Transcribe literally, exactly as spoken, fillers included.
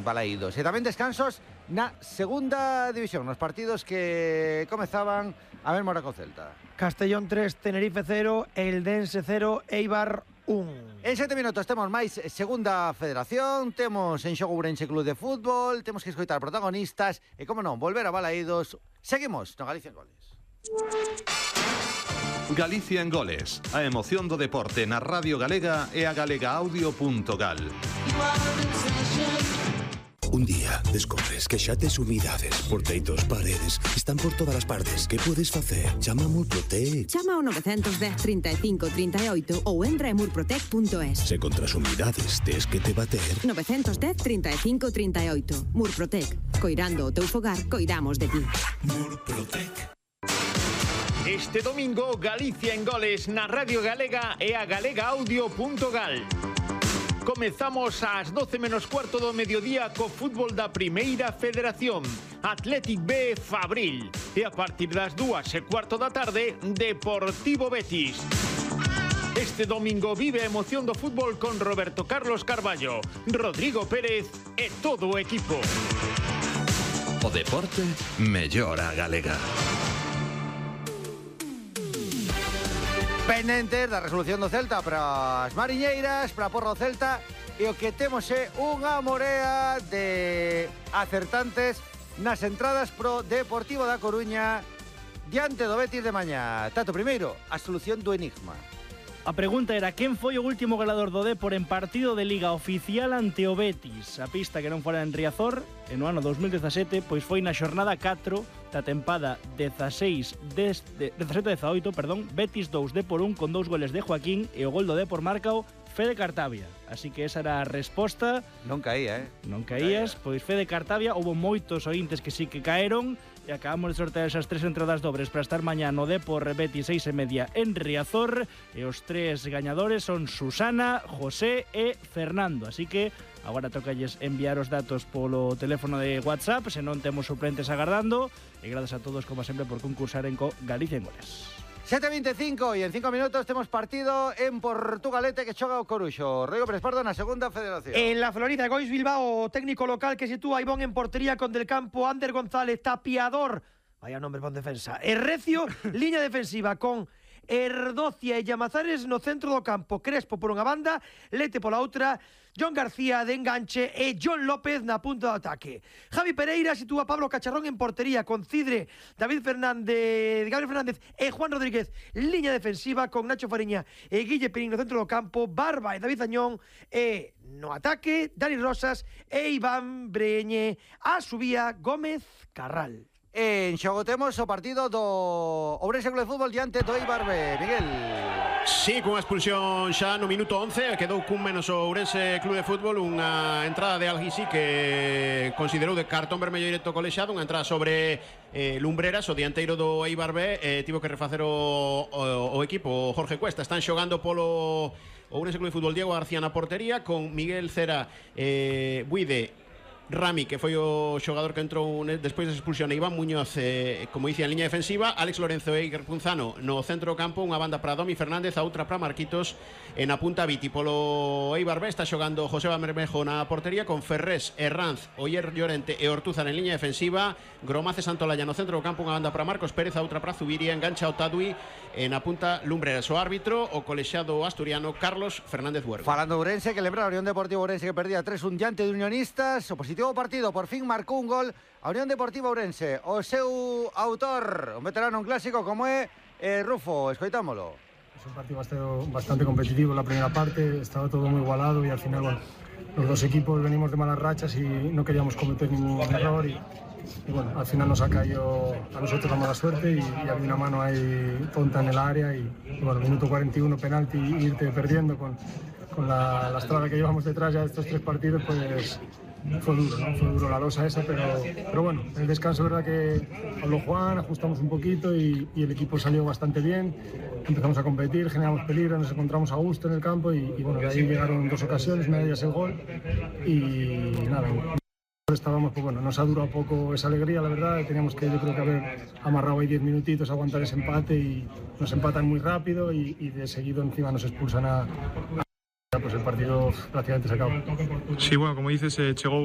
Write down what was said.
balaídos. E tamén descansos na segunda división, nos partidos que comezaban a ver Mora co Celta. Castellón tres, Tenerife cero, Eldense cero, Eibar un. En sete minutos temos máis segunda federación, temos en xogo Ourense Club de Fútbol, temos que escoitar protagonistas e, como non, volver a balaídos. Seguimos no Galicia en Goles. Galicia en Goles, a emoción do deporte na Radio Galega e a galegaaudio punto gal. Un día descubres que xa tes humidades, porteitos, paredes, están por todas as partes. Que podes facer? Chama a Murprotec. Chama ao nove dez, trinta e cinco, trinta e oito ou entra en murprotec punto es. Se contra as humidades tes que te bater. nove dez, trinta e cinco, trinta e oito. Murprotec. Coirando o teu fogar, coidamos de ti. Murprotec. Este domingo, Galicia en Goles na Radio Galega e a galegaaudio punto gal. Comezamos ás doce menos cuarto do mediodía co fútbol da Primeira Federación, Athletic B Fabril, e a partir das dúas e cuarto da tarde, Deportivo Betis. Este domingo vive a emoción do fútbol con Roberto Carlos Carballo, Rodrigo Pérez e todo o equipo. O deporte mellora a galega. Pendentes da resolución do Celta para as mariñeiras, para a porra do Celta, e o que temos é unha morea de acertantes nas entradas pro Deportivo da Coruña diante do Betis de mañá. Tato, primeiro, a solución do enigma. A pregunta era quen foi o último goleador do Depor en partido de Liga oficial ante o Betis. A pista que non fora en Riazor, en o ano dos mil dezasete, pois foi na xornada catro da tempada dezasete dezaoito, perdón, Betis dous, Depor un, con dous goles de Joaquín, e o gol do Depor marcao Fede Cartabia. Así que esa era a resposta. Non caía, eh? Non caías, pois Fede Cartabia. Houve moitos ointes que sí que caeron, e acabamos de sortear esas tres entradas dobres para estar mañá no Depor Betis seis e media en Riazor, e os tres gañadores son Susana, José e Fernando. Así que agora tocalles enviar os datos polo teléfono de WhatsApp, se non temos suplentes agardando, e grazas a todos, como sempre, por concursar en co Galicia en Goles. sete e veinticinco, e en cinco minutos temos partido en Portugalete que choga o Coruxo. Rodrigo Pérez Pardo na segunda federación. En la Florida, Gois Bilbao, técnico local que sitúa a Ivón en portería con Del Campo, Ander González, Tapiador, vaya nombre para defensa, e Recio, liña defensiva con Erdocia e Llamazares no centro do campo, Crespo por unha banda, Lete pola outra, John García de enganche e John López na punta do ataque. Javi Pereira sitúa a Pablo Cacharrón en portería con Cidre, David Fernández, Gabriel Fernández e Juan Rodríguez, liña defensiva con Nacho Fariña e Guille Perín no centro do campo, Barba e David Añón, e no ataque Dani Rosas e Iván Breñe, a subía Gómez Carral. En xogo temos o partido do Ourense Club de Fútbol diante do Eibar B. Miguel. Sí, cunha expulsión xa no minuto once, quedou cun menos o Ourense Club de Fútbol, unha entrada de Alguisi que considerou de cartón vermello directo colexado, unha entrada sobre eh, Lumbreras, o dianteiro do Eibar B, eh, tivo que refacer o, o, o equipo, o Jorge Cuesta. Están xogando polo Ourense Club de Fútbol Diego García na portería, con Miguel Cera, eh, Buide, Rami, que foi o xogador que entrou despois da expulsión, e Iván Muñoz, eh, como dicía, en liña defensiva, Alex Lorenzo e Iker Punzano no centro do campo, unha banda para Domi Fernández, a outra para Marquitos, en a punta Viti. Polo Eibar B está xogando José Bermejo na portería, con Ferrés, Herranz, Oyer Llorente e Ortúzar en liña defensiva, Gromace Santolaya no centro do campo, unha banda para Marcos Pérez, a outra para Zubiria, engancha o Tadui, en a punta Lumbreras. O árbitro, o colexado asturiano Carlos Fernández Huergo. Falando de Ourense, que lembra a Unión Deportiva Ourense que perdía tres un diante de Unionistas, o positivo partido, por fin marcou un gol a Unión Deportiva Ourense. O seu autor, un veterano, un clásico como é eh, Rufo, escoitámolo. Es un partido bastante, bastante competitivo en la primera parte, estaba todo muy igualado y al final, bueno, los dos equipos venimos de malas rachas y no queríamos cometer ningún error y, y bueno, al final nos ha caído a nosotros la mala suerte y, y había una mano ahí tonta en el área y, y bueno, minuto cuarenta y uno penalti y irte perdiendo con, con la, la estrada que llevamos detrás ya de estos tres partidos, pues fue duro, ¿no? Fue duro la losa esa, pero, pero bueno, en el descanso, verdad que habló Juan, ajustamos un poquito y, y el equipo salió bastante bien, empezamos a competir, generamos peligro, nos encontramos a gusto en el campo y, y bueno, de ahí llegaron dos ocasiones, una de ellas el gol y nada, estábamos, pues bueno, nos ha durado poco esa alegría, la verdad, teníamos que yo creo que haber amarrado ahí diez minutitos, aguantar ese empate y nos empatan muy rápido y, y de seguido encima nos expulsan a... a pues el partido prácticamente se acabó. Sí, bueno, como dices, eh, chegou